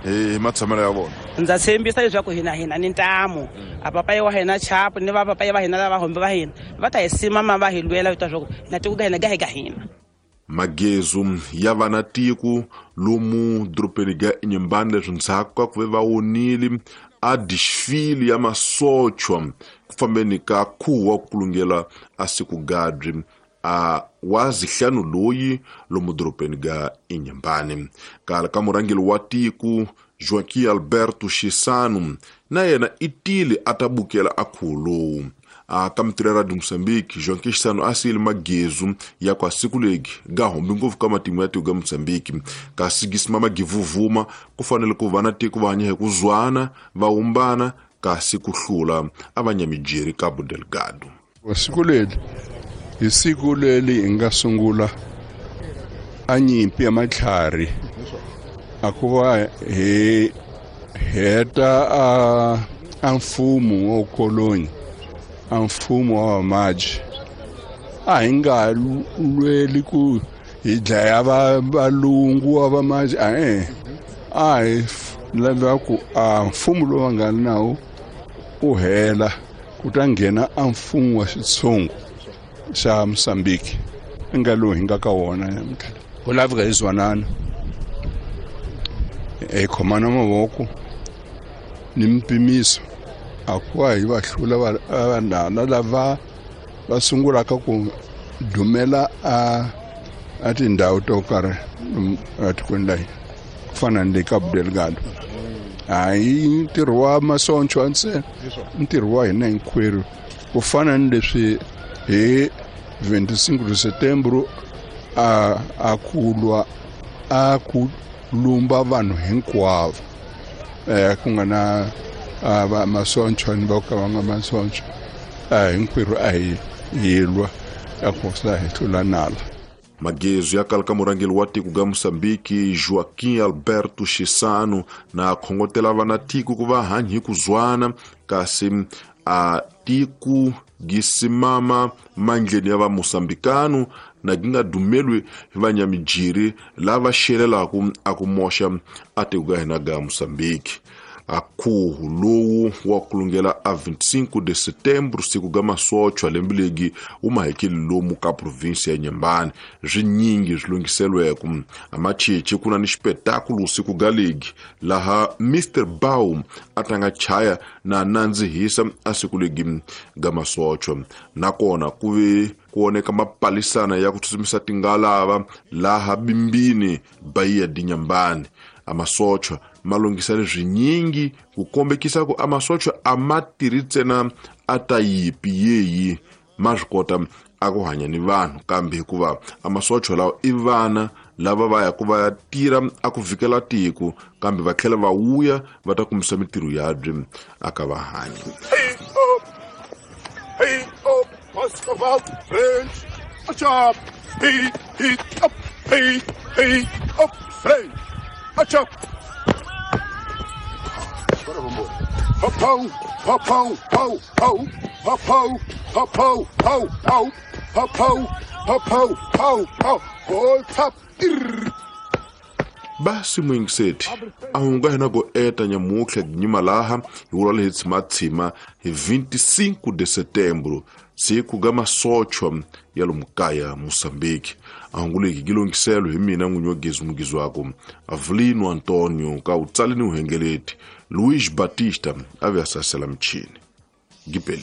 Hi matshamelo ya vona. Ndza tshembisa leswaku hina ni ntamu. A papayi wa hina Chapo ni va papayi va hina lava hombe va hina va ta hi simama va hi lwela leswaku na tiko ka hina ga hi ka hina. Magezu ya vana tiko lomu dorobeni ga Inhambane leswi ndzhaku ka ku ve va wonile a desfile ya masochwa ku fambeni ka khuvo wa ku kulungela a siku gadri a wa zihlanu loyi lomu dorobeni ga Inhambane. Kala ka murhangeri wa tiko Joaquim Alberto Chissano na yena i tile a ta bukela a khuvo lowu. A ka mitirho ya Radio Mozambique, Joaquim Chissano a siyile magezu ya kwa siku legi ga humbi ngopfu ka matimu ya tiko ga Mozambique. Kasi gisimama givuvuma ku fanele ku va na tiko va hanya hi ku zwana va humbana kasi ku hlula a va nyamijeri Cabo Delgado. Siku leri hi siku leri hi nga sungula a nyimpi ya matlhari a ku va hi heta a mfumo wa koloni, a mfumo wa vamaji. A hi nga lweli ku hi dlaya valungu wa vamaji, a hi lava ku a mfumo lowu va nga nawu u hela ku ta nghena a mfumo wa xitshungu xa Mozambique nga lowu hi nga ka wona namuntlha. Ku laveka hi zwanana, hi khomana mavoko ni mpimiso a ku va hi va hlula vanhana lava va sungulaka ku dumela a tindhawu to karhi etikweni la hina ku fana ni le Cabo Delgado. Hayi ntirho wa masonchwa ntsena, ntirho wa hina hinkwerhu ku fana ni leswi hi 25 de setembro a ku lwa a ku lumba vanhu hinkwavo, ku nga na va masonchwa ni va ka va nga masonchwa, hinkwerhu a hi lwa a ku sa hi hlula nala. Magezu ya kala ka murhangeri wa tiko ga Mozambique Joaquim Alberto Chissano na khongotela vana tiko ku va hanyi hi ku zwana kasi a tiko gisimama mandleni ya va Mozambikano na gi nga dumelwi hi vanyamijiri lava xelelaku a ku moxa a tiko ga hina ga Mozambique. A khuhu lowu wa kulungela a 25 de setembro siku ga masochwa lembe legi wu mahekeli lomu ka provinsi ya Inhambane. Swinyingi swi lunghiselweko a machichi ku na ni xipetakulu siku ga legi laha Mr Baum a tlanga chaya na nandzihisa a siku legi ga masochwa. Nakona ku ve ku oneka mapalisana ya ku tsutsumisa tingalava laha bimbini Bahia de Inhambane. A masochwa ma lunghisa leswinyingi ku kombekisa ku a masochwa a ma tirhi ntsena a ta yipi yeyi ma swi kota a ku hanya ni vanhu, kambe hikuva a masochwa lawa i vana lava va ya ku va ya tirha a ku vikela tiko kambe va tlhela va wuya va ta kumisa mitirho yabye a ka va hanyi. Hey up, Muscovite French, a chop, hey, hey, up, hey, hey, up, French, a chop. Ho, ho, ho, ho, ho, ho, ho, ho, ho, ho, ho, ho, ho, ho, ho, ho, ho, ho, top. Basi mwingiseti a hunga hina go eta nyamutlha ginyima laha hi vula lehi tshimatshima hi 25 de setembro siku ga masochwa ya lomukaya Mozambique. A hungu leki gi lunghiselo hi mina n'winyi wa gezi mugizi wako Avelino Antonio ka utsali ni uhengeleti Luis Batista a ve a sasela michini. Gipeli.